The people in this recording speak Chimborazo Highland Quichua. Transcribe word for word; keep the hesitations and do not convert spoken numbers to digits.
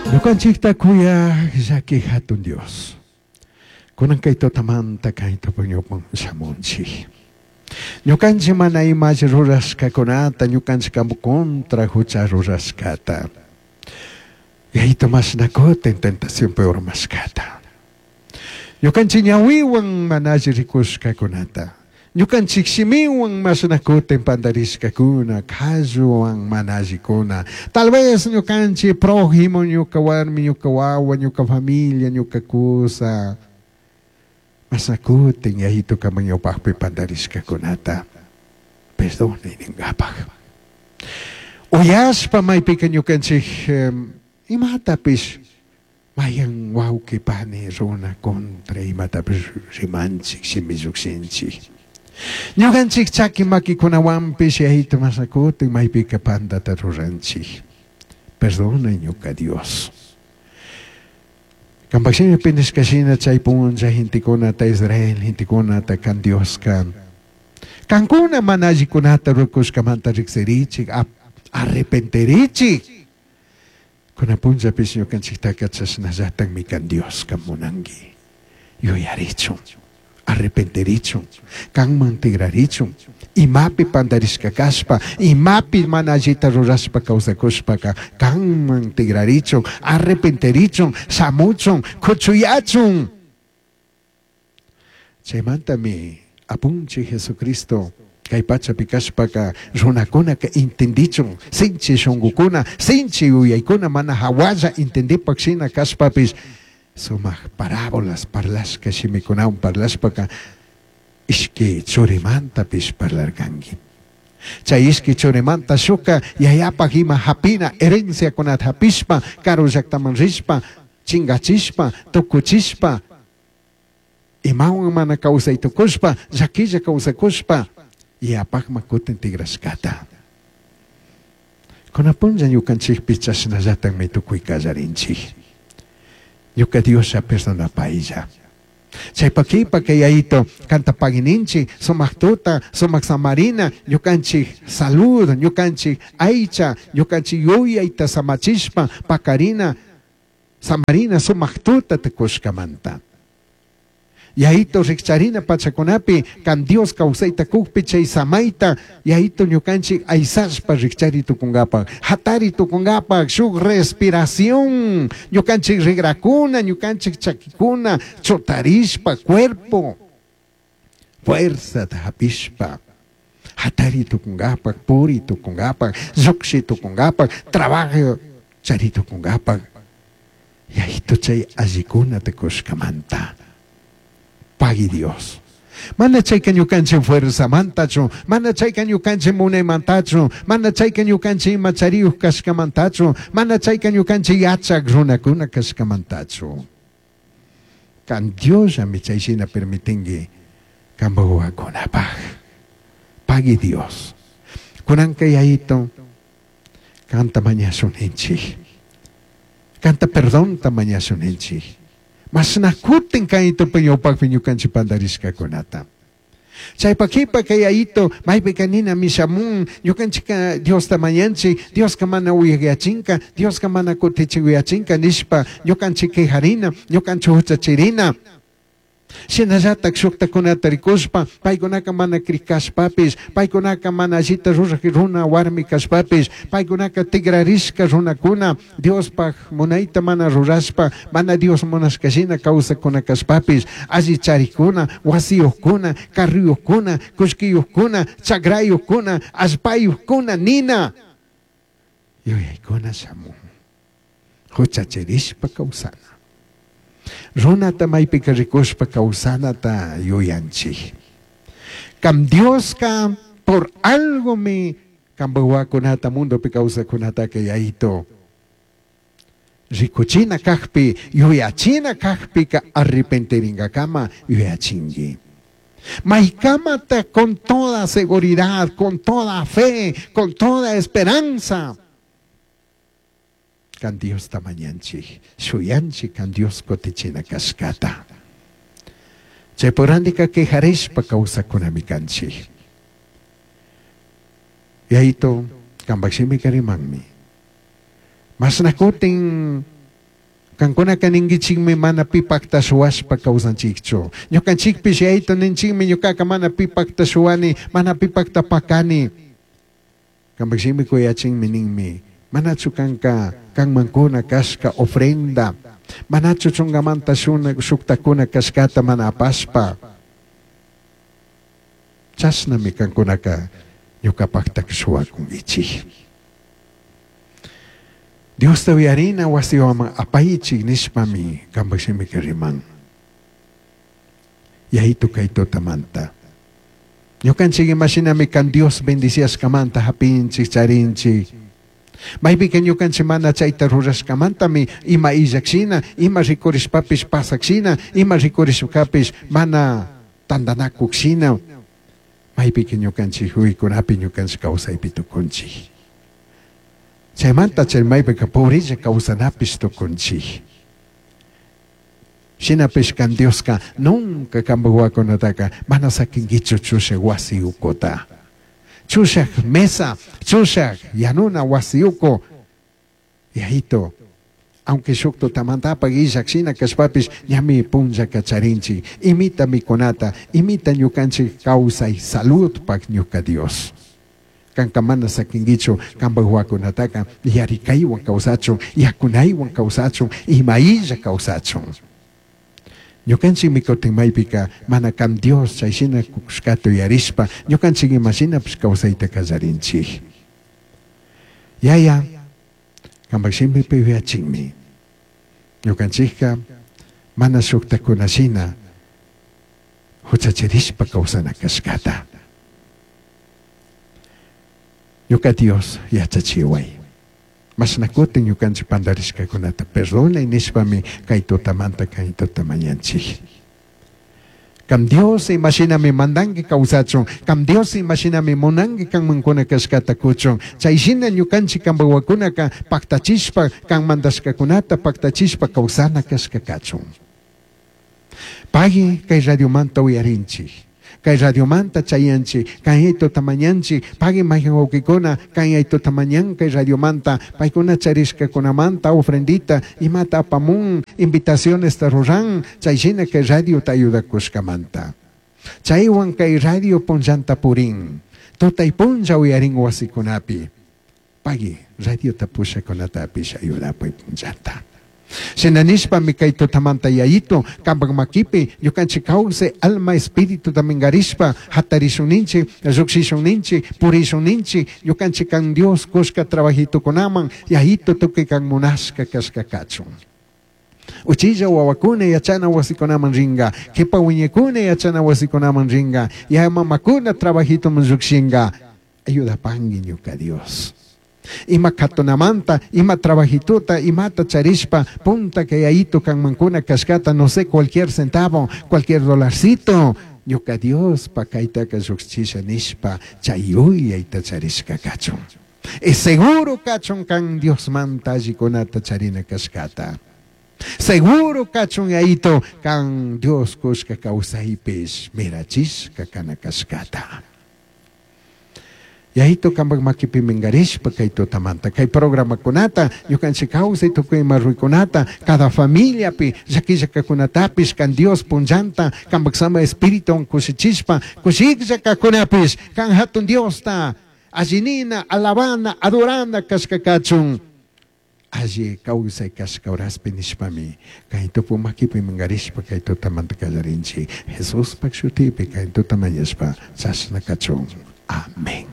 Ñukanchikta kuyaq llaki hatun Dios. Kunan kay tutamanta kay tupuñupan shamunchik. Ñukanchik mana imash rurashkakunata, ñukanchik kampu contra hucha rurashkata. Yayito mashnakutin tentacionpi urmashkata. Ñukanchik ñawiwan mana alli rikushkakunata. Ñukanchik shimiwan mashnakutin pandarishkakuna, qalluwan mana allikuna. Tal vez ñukanchik prójimo, ñuka warmi, ñuka wawa, ñuka familia, ñuka kusa. Mashnakutin yayito kaman ñawpaqpi pandarishkakunata. Perdonay ninkapaq. Uyashpa maypika ñukanchik imatapish mayan wawqi pani runa contra imatapish rimanchik shimi llukshinchik. Ñukanchik chaki makikunawanpish yayito mashnakutin maypika pandata ruranchik. Perdonay ñuka Dios. Kanpak shimipi nishkashina chay punlla gentekunata Israel gentekunata kan Dioska. Kankuna mana allikunata rukushkamanta riksirichik, arrepentirichik. Kuna punllapish ñukanchiktaka chashnallatakmi kan Dioska munanki. Yuyarichun, arrepentirichun, kanman tigrarichun, imapi pandarishka kashpa, imapi mana allita rurashpa kawsakushpaka, kanman tigrarichun, arrepentirichun, shamuchun, kuchuyachun. Chaymantami apunchik Jesucristo kay pachapi kashpaka runakunaka entendichun, sinchi shunqukuna, sinchi yuyaykuna mana hawalla entendipak shina kashpapish sumaq parábolas parlashka shimikunawan parlashpaka ishki churimantapish parlarkanki. Chay ishki churimanta shuka yayapaq ima hapina herenciakunata hapishpa karu llaqtaman rishpa chingachishpa tukuchishpa imawan mana kawsay tukushpa llakilla kawsakushpa yapaqma kutin tigrashkata. Kuna punlla ñukanchikpi chashnallatakmi tukuy kallarinchik. Ñuka Dioslla perdonapaylla. Chaypa kipa kay yayito kanta pagininchik sumaq tuta, sumaq samarina, ñukanchik salud, ñukanchik aycha, ñukanchik yuyayta samachishpa pakarina, samarina sumaq tuta tukushkamanta. Yayito rikcharina pachakunapi kan Dios kawsayta kukpi chay samayta yayito ñukanchik aysashpa rikchari tukunkapaq, hatari tukunkapaq, shuk respiración, ñukanchik rigrakuna, ñukanchik chakikuna, chutarishpa cuerpo, fuerza hapishpa, hatari tukunkapaq, puri tukunkapaq, lluqshi tukunkapaq, trabajo chari tukunkapaq, yayito chay allikuna tukushkamanta. Pagui Dios. Mana chayka ñukanchik fuerzamantachu, mana chayka ñukanchik munaymantachu, mana chayka ñukanchik ima chariyuq kashkamantachu, mana chayka ñukanchik yachaq runakuna kashkamantachu. Kan Diosllami chayshina permitinki kanpak wawakunapaq. Pagui Dios. Kunanka yayito kanta mañashuninchik. Kanta perdonta mañashuninchik. Mashnakutin kayto ñawpaqpi ñukanchik pandarishkakunata. Chaypa kipa kay yayito maypika nina mishamun ñukanchika Diosta mañanchik, Dioska mana uyayachinka, Dioska mana kutichiyachinka nishpa ñukanchik quejarina, ñukanchik huchachirina. Shinallatak shuktakunata rikushpa, paykunaka mana krikashpapish, paykunaka mana allita ruraq runa warmi kashpapish, paykunaka tigrarishka runakuna, Diospaq munayta mana rurashpa, mana Dios munashkashina kawsakuna kashpapish, alli charikuna, wasiyuqkuna, carriyuqkuna, kullkiyuqkuna, chakrayuqkuna, allpayuqkuna, nina. Yuyaykuna shamun. Huchachirishpa kawsana. Runata maypika rikushpa kawsanata yuyanchik. Kam Dioska por algo mi kampak wawakunata mundopi kawsakunataka yayito. Rikuchina kakpi, yuyachina kakpika arrepentiringakama yuyachinki. Maykamata con toda seguridad, con toda fe, con toda esperanza. Kan Diosta mañanchik, shuyanchik kan Dios kutichina kashkata. Chaypurandika quejarishpa kawsakunami kanchik. Yayito, kanpak shimika rimanmi. Mashnakutin Kankunaka ninkichikmi mana pipakta shuwashpa kawsanchikchu. Ñukanchikpish yayito ninchikmi ñukaka mana pipakta shuwani, mana pipakta pakani. Kanpak shimi kuyachinmi ninmi. Manachu kanka kanmankuna kashka ofrenda, manachu chungamanta shuna shuktakuna kashkata mana apashpa. Chashnami kankunaka ñukapakta shuwakunkichik. Diosta uyarina wasiwaman apaychik nishpami kanpak shimika riman. Yayitu kay tutamanta. Ñukanchik imashinami kan Dios bendiciashkamanta hapinchik charinchik. Maypika ñukanchik mana chayta rurashkamantami ima illakshina, ima rikurishpapish pasakshina, ima rikurishkapish mana tantanakukshina. Maypika ñukanchik uykunapi ñukanchik kawsaypi tukunchik. Chaymanta chay maypika pobrella kawsanapish tukunchik. Shinapish kan Dioska nunca kanpak wawakunataka mana sakinkichu chushak wasi ukuta. Chushak mesa, chushak yanuna wasi uku. Yayito, aunque shuk tutamantapak illak shina kashpapish ñami punllaka charinchik. Imita mikunata, imita ñukanchik kawsay saludpak ñuka Dios. Kanka mana sakinkichu kanpak wawakunataka yarikaywan kawsachun, yakunaywan kawsachun, ima illa kawsachun. Ñukanchik mikutin maypika mana kan Dios chay shina kushkata uyarishpa ñukanchik imashinapish kawsayta kallarinchik. Yaya, kanpak shimipi uyachinmi. Ñukanchikka mana shuktakunashina huchachirishpa kawsana kashkata. Ñuka Dios yachachiway. Mashnakutin ñukanchik pandarishkakunata perdonay nishpami kay tutamanta kay tutamañanchik. Kam Dios imashinami mandanki kawsachun, kam Dios imashinami munanki kanmankuna kashkata kuchun. Chay shina ñukanchik kanpak wawakunaka paktachishpa kan mandashkakunata paktachishpa kawsana kashka kachun. Pagui kay radiomanta uyarinchik. Kay radiomanta chayanchik, kay tutamañanchik, pagui mayhan wawkikuna, kay tutamañan kay radiomanta, paykuna charishkakunamanta ofrendita, imata apamun, invitaciones ruran, chay shina kay radio ta ayudakushkamanta. Chaywan kay radio punllanta purin, tutay punlla uyarin wasikunapi. Pagui radio ta pushakunatapish ayudapuy punllanta. Shina nishpami kay tutamanta yayito, kanpak makipi, ñukanchik kawsay alma espíritu minkarishpa, hatarishun ninchik, llukshishun ninchik, purishun ninchik, ñukanchik kan Dios kushka trabajitukunaman, yayito tukuy kan munashka kashka kachun. Uchilla wawakuna yachana wasikunaman ringa, kipa wiñakuna yachana wasikunaman ringa, ya mamakuna trabajituman llukshinga. Ayudapangi ñuka Dios. Ima katunamanta, ima trabajituta, imata charishpa, punta que yayito kanmankuna kashkata, no sé, cualquier centavo, cualquier dolarcito. Ñuka Dios pa kaytaka llukchisha nishpa, chay yuyayta charishka kachun. Es seguro kachun kan Dios manta allikunata charina kashkata. Seguro kachun yayito kan Dios kushka kawsaypish mirachishka kana kashkata. Yayito kanpak makipi minkarishpa kay tutamanta, kay programakunata, ñukanchik kawsay tukuy ima ruykunata, cada familiapi, llakillakakunatapish kan Dios punllanta, kanpak sama espíritu kushichishpa, kushikllakakunapish, kan hatun Diosta, allinina, alabana, adorana kashka kachun. Alli kawsay kashka horaspi nishpami, kay tupu makipi minkarishpa kay tutamanta kallarinchik. Jesuspak shutipi kay tutamañashpa chashna kachun. Amén.